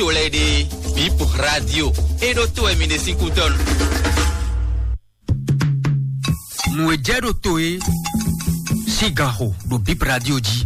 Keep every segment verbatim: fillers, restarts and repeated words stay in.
to lɛ́ɛ ɖe, Bip Radio, é ɖó to wɛ mi ɖe sín kútɔ́nu. Nǔ e jɛ ɖo to é sín gan xo ɖo Bip Radio jí.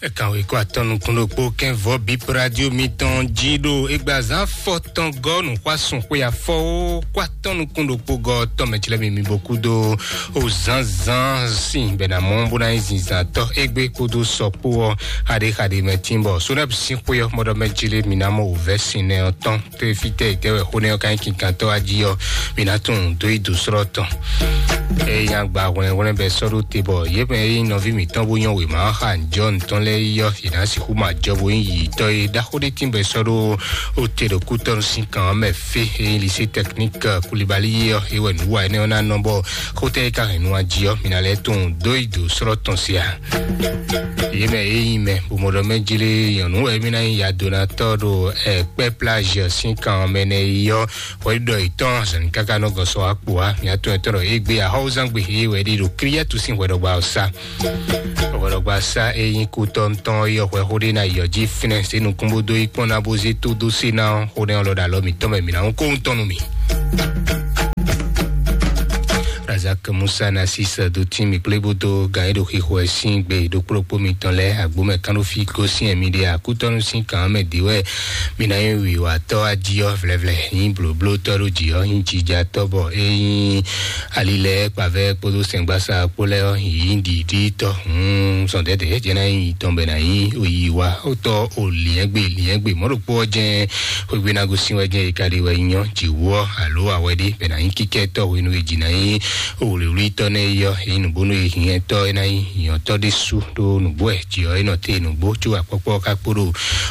Ɛ kan wěkɔ atɔ́ nukún ɖokpó kɛ́n vɔ́ Bip Radio mitɔn jí ɖo égbazán fɔtɔn gɔ́ nǔxwásún xwé afɔwó kó atɔ́ nukún ɖokpó gɔ́ tɔn mɛ cilɛ mi mi bo kúdó o zánzán sin bɛ na mɔ bó ná nyí zinzantɔ́ égbé kpódó sɔkpó ɔ́ xaɖé xaɖé mɛ tín bɔ Sonɛb sín xwé ɔ́ mɔɖɔ mɛ cilé mi ná mɔ wǔvɛ́ sin nɛ ɔ́ tɔn. Tó e fítɛ́ e tɛ́ wɛ xó nɛ́ ɔ́ ka nyí kinkantɔ́ wá jí ɔ́, mi ná tunwun dó yi dǒ slɔ́ tɔn. Eye agba hwlɛ́nhwlɛ́n bɛ sɔ́ ɖó te bɔ yě mɛ e nyí nɔví mǐtɔn bó nyɔ́ wěma ɔ́ xa njɔ̌ mǐtɔn lɛ́ɛ yi ɔ́, yě ná sixú ma jɔ bó nyí yiyitɔ́ e ɖaxó ɖé tín bɔ è sɔ́ ɖó ó te ɖo kútɔ́nu sín kan ɔ́ mɛ fé. Eye lycée technique Koulibaly yi ɔ́, é wɛ nǔ wa énɛ́ ɔ́ ná nɔ bɔ xótɛ́ e ka hɛn nu jí ɔ́, mi ná lɛ́ tunwun dó yi dǒ slɔ́ tɔn se a? Yě mɛ e nyí mɛ bó mɔ ɖɔ mɛ jlé nyɔ̌nu wɛ mí ná nyí yadonatɔ́ ɖo ɛkpɛ́ plage sín kan ɔ́ mɛ nɛ́ yi ɔ́, hwɛɖiɖɔ yětɔn azɔ̌ ní káká nɔ gɔ́ sɔ wá kpo wá. Mǐ atɔn etɔn ɖɔ égbé ahɔ́wúzán gbe he wɛ ɖi ɖo Kriɛ́tu sín hwɛɖɔgbá ɔ́ sá. Hwɛɖɔgbá sá e nyí kútɔ́ntɔn ɔ́ yɔ hwɛ xó ɖé ná yɔ jí fínɛ́ zé nukún bó dó yí kpɔ́n ná bó zé tó dó sé ná ɔ́, xó nɛ́ ɔ́ lɔ ɖo alɔ mǐtɔn mɛ mǐ ná hún kóhun tɔn nú mì. Razak Musa Nasis dó tín mì kplé bó dó gǎn e ɖo xixo wɛ sín gbe ɖokpó ɖokpó mitɔn lɛ́ɛ agbó mɛ kánɖófí gosín ɛ mi ɖe akútɔ́nú sín kǎn mɛ dě wɛ mi ná nyí wǐwatɔ́ ají ɔ́ vlɛvlɛ nyí blǒblótɔ́ ɖo jǐ ɔ́ nyí jijatɔ́ bɔ é nyí ali lɛ́ɛ kpavɛ́ kpódó sɛngbásá kpó lɛ́ɛ ɔ́ nyí ɖiɖítɔ́ hǔn zɔn dɛ̌dɛ̌ jɛ ná nyí tɔn bɛ ná nyí oyi wa ó tɔ́ o liɛ́ngbé liɛ́ngbé mɔ̌ ɖokpó ɔ́ jɛ́n xwégbé ná gosín wɛ jɛ́n è ka ɖe wɛ nyí ɔ́ jǐwú ɔ́ alo awɛ ɖé bɛ ná nyí kíkɛ́tɔ́ hwenu e jǐ ná nyí wlǐwlítɔ́ nɛ́ é yɔ́ é nyí nǔgbónú e hinyɛtɔ́ é ná nyí nyɔ̌tɔ́ ɖésú ɖó nǔgbó wɛ jǐ ɔ́ é nɔ te nǔgbó có akpɔ́kpɔ́ ɔ́ ka kpo ɖo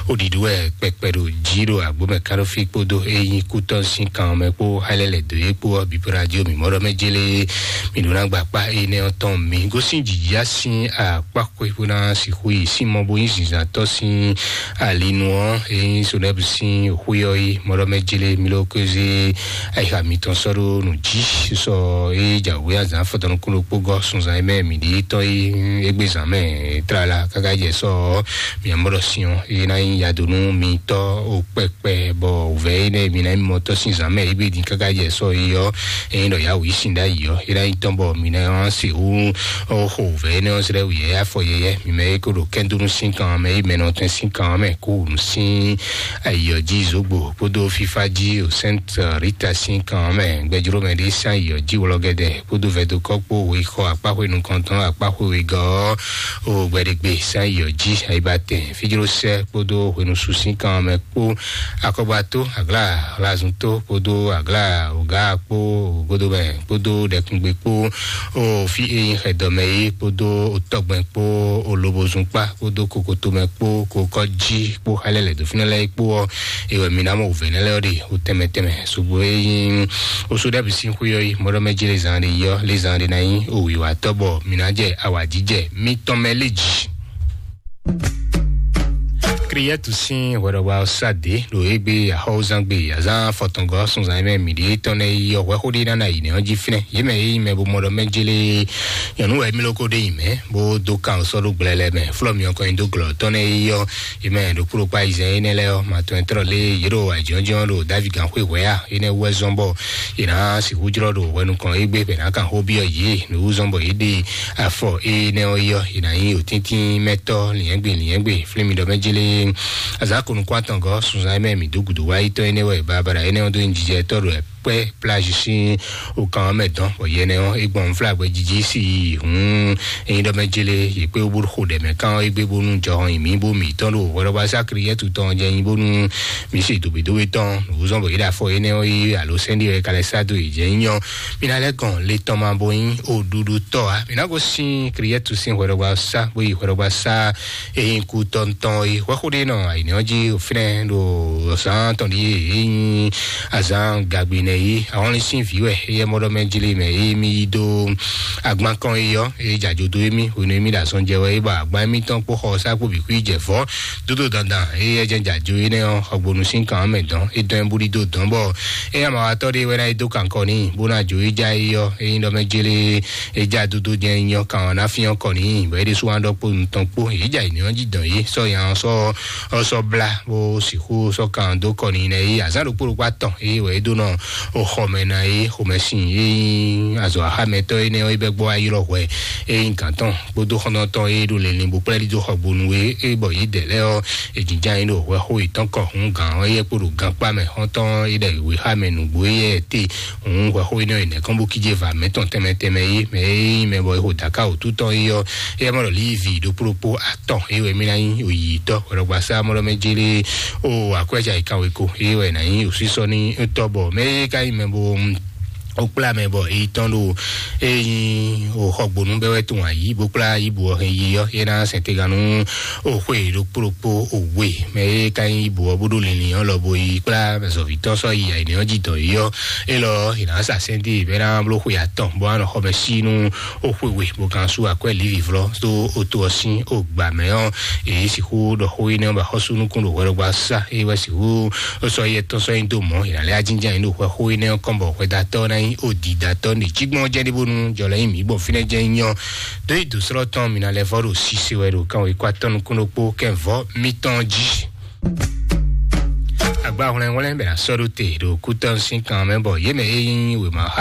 ó ɖiɖu wɛ kpɛkpɛ ɖo jí ɖo agbó mɛ káɖófí kpódó é nyí kútɔ́ sín kan mɛ kpó xá lɛ́ lɛ̌ dó é kpó ɔ́ bǐ bó ná jó mǐ mɔ ɖɔ mɛ jélé mǐ ɖó ná gba akpá énɛ́ ɔ́ tɔn mi gosín jǐjá sín akpá xwé bó ná sixú yi sín mɔ bó nyí zǐnzǎntɔ́ sín alinu ɔ́ é nyí sonɛ́bù sín xwé ɔ́ yi mɔ ɖɔ mɛ jélé mi ló kézé ayixa mitɔn sɔ́ ɖó nǔ jí sɔ é jǎwé azǎn fɔtɔnukúnɖokpó gɔ́ sunzan e mɛ mǐ ɖe tɔn yi égbé zǎn mɛ tlala káká jɛ sɔ ɔ́ mǐ mɔ ɖɔ sin ɔ́ é ná nyí yadonu mitɔ́ o kpɛkpɛ bɔ wǔvɛ́ énɛ́ mǐ ná nyí mɔtɔ́ sín zǎn mɛ égbé din káká jɛ sɔ yi ɔ́ é nyí ɖɔ yǎwǔ yí sin ɖ'ayǐ ɔ́ é ná nyí tɔn bɔ mǐ ná sixú xo wǔvɛ́ énɛ́ ɔ́ zlɛ́ wǔyɛ́ afɔ yɛyɛ́ mǐ mɛ é ko ɖo kɛ́ndúnú sín kan mɛ é mɛ nɔ tɛn sín kan mɛ kó wǔ sín ayǐ ɔ́ jí zǒgbó kpódó fífá jí o Sainte Rita sín kan mɛ gbɛjlómɛ ɖé sín ayǐ ɔ́ jí wlɔgɛdɛ kpódó vɛdokɔ kpó wěxɔ akpáxwé nukɔntɔn akpáxwé wegɔ́ ɔ́ o gbɛɖegbe sín ayǐ ɔ́ jí ayibatɛn fíjlósɛ kpódó hwenusu sín kan mɛ kpó akɔgbató aglá hlazunto kpódó aglá ògá kpó ògodobɛ kpódó ɖɛkungbe kpó o fí e nyí xɛdɔmɛ é kpódó otɔgbɛn kpó olobozun kpá kpódó kokotomɛ kpó kokɔjí kpó xá lɛ́ lɛ̌ dó fínɛ́ lɛ́ɛ kpó ɔ́, é wɛ mi ná mɔ wǔvɛ́ nɛ́ lɛ́ɛ ɔ́ ɖe o tɛnmɛ tɛnmɛ sugbo e nyí oso ɖɛ́ bǐ sín xwé ɔ́ yi mɔɖɔmɛ jí lé zan ɖé yi ɔ́ lé zan ɖé ná nyí o wǐwatɔ́ bɔ mi ná jɛ awǎjijɛ mitɔn mɛ lé jí. Kriɛtu sín hwɛɖɔgba ɔ́ sá dě ɖo égbé axɔ́wúzán gbe azán fɔtɔngɔ́ sunzan e mɛ mǐ ɖe tɔn nɛ́ yi ɔ́ hwɛxó ɖé ná ná yi nɛ́ ɔ́ jí fínɛ́ yě mɛ e nyí mɛ bo mɔ ɖɔ mɛ jélé nyɔ̌nu wɛ mí lóko ɖé nyi mɛ̌ bó dó kan sɔ́ ɖó gblɛlɛ mɛ flɔ́ myɔ kɔn nyi dó glɔ̌ tɔn nɛ́ yi ɔ́ yě mɛ ɖokpó ɖokpó ayizɛ́n énɛ́ lɛ́ɛ ɔ́ ma tɔn ɛ trɔ lé yě ɖo ajɔ̌njɔ́n ɖo David gǎnxwé hwɛ̌ a énɛ́ wú wɛ zɔ́n bɔ yě ná sixú jlɔ́ ɖo hwɛ nukɔn égbé bɛ ná kan xó byɔ́ yě nǔ wú zɔ́n bɔ yě ɖe afɔ énɛ́ ɔ́ yi ɔ́ yě ná nyí òtíntín mɛtɔ́ lǐnyɛ́gbe lǐnyɛ́gbe flín mi ɖɔ mɛ jélé azǎn ko nukún atɔngɔ́ sunzan e mɛ mǐ dó gǔdo wá yi tɔn énɛ́ wɛ babala énɛ́ ɔ́ dó nyi jijɛ tɔ́ ɖo kpɛ́ plage sín okan ɔ́ mɛ dɔn bɔ yɛnɛ ɔ́ é gbɔn flágbɛ jiji sí yi hǔn enyi ɖɔ mɛ jélé yě kpé wú bó xo ɖɛ mɛ kán ɔ́ égbé bónú jɔhɔn yi mǐ bó mǐ tɔn ɖo hwɛɖɔbá sá Kriɛ́tu tɔn jɛ nyi bónú mǐ se dǒbídóbí tɔn nǔzɔ́n bɔ yě ɖo afɔ énɛ́ ɔ́ yí alo sɛ́n ɖé wɛ ka lɛ́ sá dó yě jɛ nyí ɔ́ mǐ ná lɛ́ gɔn le tɔn ma bo nyí oɖuɖu tɔ́ ǎ mǐ ná gosín Kriɛ́tu sín hwɛɖɔbá sá bó yi hwɛɖɔbá sá e nyí kú tɔntɔn e hwɛxó ɖé nɔ ayǐnɛ́ ɔ́ jí fínɛ́ ɖo zǎn tɔn ɖíe e nyí azǎn gagbinɛ Èyí àwọn ní sín vǐ wɛ, eyɛ mɔɖɔ mɛ jlí mɛ, èyí mi yí dó agban kɔn yi yɔ, èyí jàjò dó émí, ònú émí ɖo azɔn jɛ wɛ, é ba agban émí tɔn kpó xɔ sá kpó bǐ kú yi jɛ vɔ́ dódó dandan, èyí ɛ jɛ jàjò énɛ́ ɔ́, xɔgbónú sín kan mɛ dɔn, é dɔn ɛ búɖí dó dɔn bɔ é ama wa tɔ́ ɖé wɛ ná é dó kankɔ ní, bó ná jò é já é yɔ, èyí ɖɔ mɛ jlí é já dódó jɛ nyɔ kan ɔ́ ná fín ɔ́ kɔ ní, bɔ é ɖésú wá ɖɔ kpó nutɔn kpó, èyí jà yi ní ɔ́ jí dɔn yé, sɔ nya ɔ́ sɔ ɔ́ sɔ blá bó sixú sɔ́ kan dó kɔ n'i nɛ yí azǎn ɖokpó ɖokpó atɔn yí wɛ é ɖó nɔ xɔmɛ ná yí xomɛsin yí azɔ axámɛtɔ́ énɛ́ ɔ́ yí bɛ́ gbɔ ayírɔ hwɛ é nyí gǎn tɔn kpódó xɔ́ntɔn tɔn yí ɖo lɛlin bó kplá ɖi dó xɔgbónu é é bɔ yí dɛ lɛ́ɛ ɔ́ é jínján yí ɖo hwɛ xó yětɔn kɔ hún gǎn ɔ́ yɛ kpo ɖo gankpá mɛ xɔ́ntɔn yí ɖɛ wěxá mɛ nǔgbó yɛ te hún hwɛ xó énɛ́ ɔ́ yi nɛ̌ kɔn bó kíjé va mɛ tɔn tɛnmɛ tɛnmɛ yí mɛ é nyí mɛ bɔ é xo dǎká wǒtú tɔn yí ɔ́ é yɛ mɔ ɖɔ lívi ɖokpó ɖokpó tɔn, eye wɛ mí ná nyí oyǐtɔ́, hwɛɖɔgbasá mɔɖɔ mɛ jélé o akwɛ́ ja yi kanweko, eye wɛ ná nyí osísɔ ní tɔ́ bɔ mɛ e ka nyí mɛ bo o kplá mɛ bɔ èyí tɔn ɖo eye nyí o xɔgbónú bɛ wɛ tún ayǐ bó kplá yíbo ɔ́ hɛn yi ɔ́, yé ná sɛn tegan nú o xwe ɖokpó ɖokpó o we mɛ e ka nyí yíbo ɔ́ bó ɖo linlin ɔ́ lɔ bo yi kplá zɔ̌ví tɔn sɔ́ yi ayǐnɛ ɔ́ jí dɔn yi ɔ́, élɔ́ è nǎ sa sɛ́n dó bɛ ná bló xwe atɔn bó ná nɔ xɔ mɛ sí nú o xwe we bó kan sú akwɛ́ lívivlɔ́ dó o to ɔ́ sín o gbǎ mɛ ɔ́, èyí sixú ɖɔ xó énɛ́ ɔ́ ba xɔ́sú nukún ɖo hwɛɖɔgbá sá é wɛ sixú sɔ́ yɛ tɔn sɔ́ nyi dó mɔ̌ è nǎ lɛ́ ajínjɛ́n nyi ɖo hwɛ xó énɛ́ ɔ́ kɔn bɔ hwɛdatɔ́ ná nyí o didatɔ́ ne cí gbɔn jɛ́n ɖé bónú jɔlɛ nyí mǐ bɔ fínɛ́ jɛ́n nyí ɔ́ dó yi dǒsrɔ́ tɔn mǐ ná lɛ́ vɔ́ ɖo sise wɛ ɖo kan wěkwatɔ́ nukún ɖokpó kɛ́n vɔ́ mítɔn jí. Agba hwlɛnhwlɛn bɛ ná sɔ́ ɖó te ɖo kútɔ́ sín kan mɛ bɔ yě mɛ e nyí wěma xá